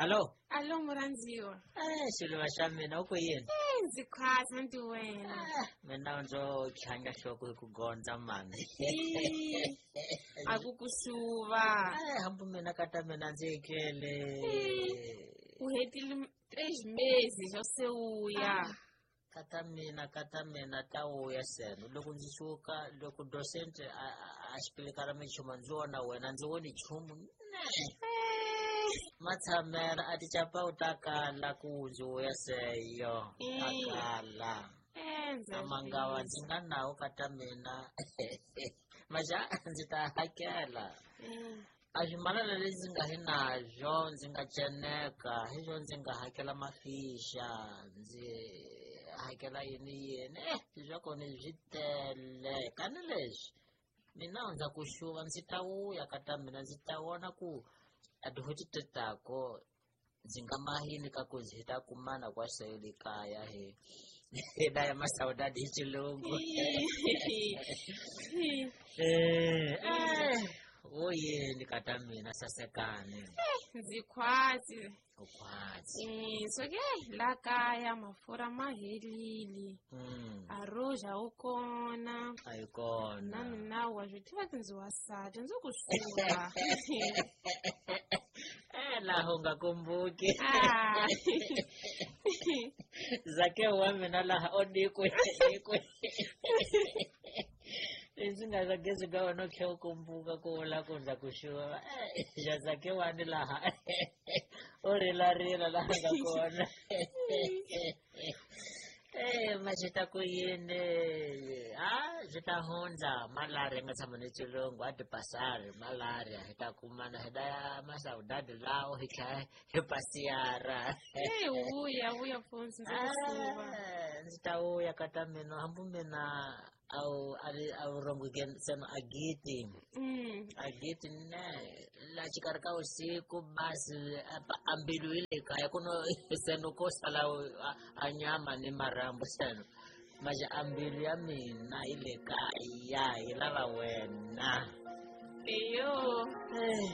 Hallo. Alo murhandziwa. Eh, xiluva xa mina u ku yini? Eh, ndzi khwatsa nti wena. Eh, mina ndzo tlhanga nhloko hi ku gondza mani. Ih, A ku ku xuva. Eh, hambi mina ka ta mina ndzi etlele. U hetile 3 meses xo se uya. Ka ta mina ka ta mina ta vuya seno loko ndzi suka loko docent a xipilikara minchumu ndzi vona wena ndzi voni nchumu ne. Eh, Matshamela a tichapawu ta kala ku ndzi vuya seyo ta kala. Eh, ndza A mangawa ndzi nga nawo ka ta mina maxa ndzi ta hakela. A swimalana leswi ndzi nga hi nazwo ndzi nga ceneka hi swo ndzi nga hakela mafixa ndzi hakela yini yini swa kona swi tele kani leswi mina ndza ku xuva ndzi ta vuya ka ta mina ndzi ta vona ku a tihuti tetako ndzi nga mahini ka ku ndzi ta kumana kwa sele kaya hi hi daya masaudade hi xilungu. Eh, eh, wo yini ka ta mina sasekani? Ndzi khwatsi. U khwatsi. Eh, so ke la kaya mafurha ma helile. A roja wu kona. A yi kona. Na mina wa swi tiva ku ndzi wasati ndzi ku xuva. Eh, laha u nga kumbuki. Ah. Zake wa mina laha o nikwe nikwe leswi nga za gezi ka wena u tlhe u kumbuka ku vula ku ndza ku xuva. Eh, xa zake wani laha u rilarila laha nga kona. Eh, ma swi ta ku yini a swi ta hundza malaria nga tshama ni xilungu a ti pasari malaria hi ta kumana hi ta ya masaudadi lawo hi tlhela hi pasiyara. Eh, vuya vuya mfundzi ndzi ku xuva. Eh, ndzi ta vuya ka ta mina hambi mina a wu a ri a wu rhongoke ntsena agiti. Agiti ne la xikarhi ka vusiku basi a mbilu yi le kaya ku no seno ko sala a nyama ni marhambu seno maje a mbilu ya mina yi le kaya yi lava wena. Eyo. Eh.